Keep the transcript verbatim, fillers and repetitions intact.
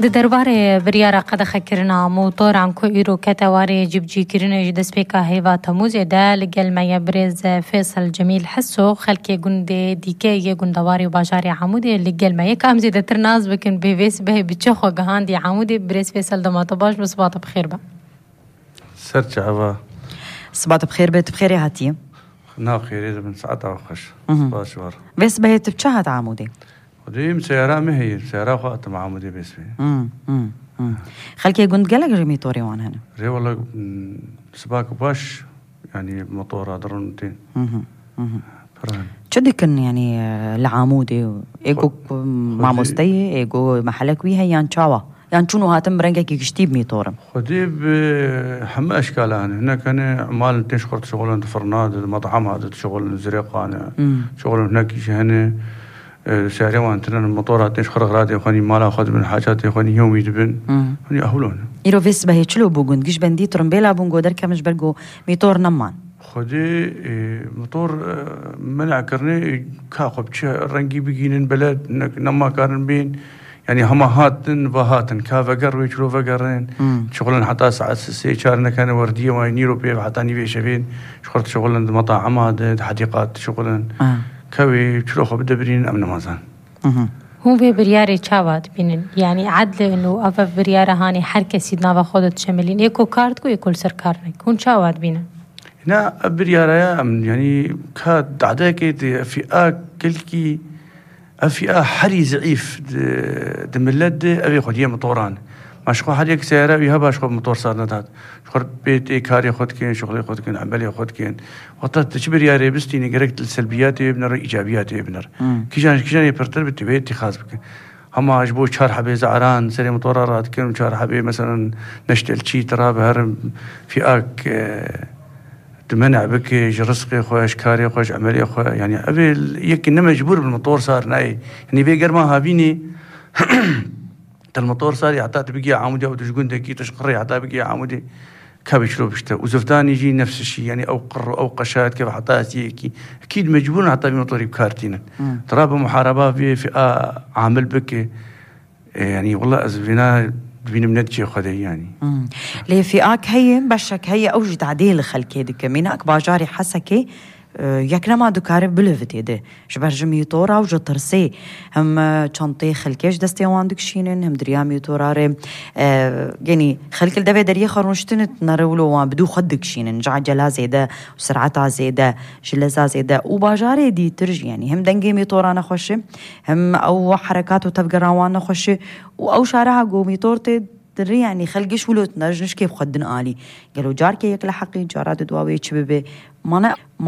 Di derbarê biryara qedexekirina motoran ku îro kete warê cîbicîkirinê ji destpêka heyva Temûzê de, li gel me ye birêz Fêsel Cemîl Heso, xelkê gundê dîke yê gundewarê û bajarê Amûdê li gel me ye. Ka em zêdetir nas bikin bê vê sibehê bi çi xwe gihandî Amûdê. Birêz Fêsel, dema te baş be, siba te bi xêr be. Ser çava. Siba te bi xêr be, tu bi xêrê hatiye. Na xêrê dibin, saeta xweş. Mhm. Spas ji we re. Vê sibehê tu bi çi hat Amûdê? Xwedê min seyara min heye, seyara xwe hatim Amûdê bê sibehê. Hmm, hmm, hmm. Xelkê gund gelek ji mîtorê wan hene. Rê wele, hmm, sibak baş, yani motora dirin tên. Mhm, mhm. Piran. Çi dikin yani, e, li Amûdê? Ê ku, Xwe-, ku xwedê mamosteyê, ê ku mehelek wî heye yan çawa? Yan çûn û hatin bi rengekî giştî bi mîtorin? Xwedê bi heme eşkalan hene. Hinek hene, mal tên ji xwe dişixulin, di firna de, di metama de dişixulin, zirêqan e. Hmm. Dişixulin, hinekî jî hene, e, seyarê wan tine, motora tên ji xwe re radê xwe nî, mala xwe dibin, hacatê xwe nî, yewmî dibin. Hmm. Hûn ê ehûl hene. Îro vê sibehê çilo bû gund, giş bendî tirimbêla bûn, go derkemin ji ber go mîtor neman. Xwedê, e, motor, e, mena kirine, e, ka xwe bi çi rengî bigînin, bele ne-, nema karin bên. Yani hema hatin, va hatin. Ka veger wê çilo vegerin. Hmm. Şixulin heta saet sê çar nekene werdiyê wan nîro pê heta nîvê şevên. Ji xurt şixulin di metama de, di hedîqat şixulin. Ah. Ka wê çilo xwe bidebirînin, em nimazan. Mhm. Hûn vê biryarê çawa dibînin? Yani edlin û ev, ev biryara hanê her kesî di nava xwe de dişemilîn. Ê ku kar diku, ê ku li ser kar neke. Hûn çawa dibînin? Na, ev biryara ya em, yani ka dadekê di fîa kilkî, ev fîa herî zeîf di, di millet de, ev ê xwediyê motoran. Ma ji xwe her yek seyara wî heba ji xwe motor sar nedat. Ji xwe bê tê karê xwe dikin, şixulê xwe dikin, emelê xwe dikin. Wexta tu çi biryarê bistînî, gerek li selbiyatê biner, îcabiyatê biner. Hmm. Kîjan, kîjan ê pirtir bi tu wê tîxaz bikin. Hema ji bo çar hebê ze'eran serê motora radikin û çar hebê, meselen, neştelçî tira bi herin fîak, e, tu men'a bike ji rizqê xwe, ji karê xwe, ji emelê xwe. Yani ev ê yekî ne mecbûr bi motor sar nayê. Yani vê germa havînê te li motor sarî heta tu bigiyê Amûdê û tu ji gundekî tu ji qirê heta bigiyê Amûdê. Ka wê çilo bişte. Û ziftanî jî nefs şî, yani ew qir û ew qeşa dikeve heta ez yekî. Ekîd mecbûr in heta vî motorî bi kar tînin. Hmm. Tira bi muhareba vê fîa amil bike. E, yani wela ez vêna dibînim ne diçê Xwedê yani. Hmm. Lê fîak heye, beşek heye, ew jî tadê li xelkê dike. Mînak bajarê Hesekê, e, yek nema dikare bilivitê de. Ji ber ji mîtora û ji tirsê hem, e, çanteyê xelkê ji destê wan dikişînin, hem di riya mîtora re, e, genî xelk li devê deriyê xwe rûniştine, nere wilo wan bi dû xwe dikişînin. Ji ecela zêde û sereta zêde, ji leza zêde û bajarê dîtir jî, yanî hem dengê mîtora nexweş e, hem ew herekat û tevgera wan nexweş e û ew şareha ku mîtor tê dirê, yanî xelk giş wilo tine, ji nişkê bi xwe din alî. Gelo carkê yek li heqî, cara di dua wê çi bibe? Mane,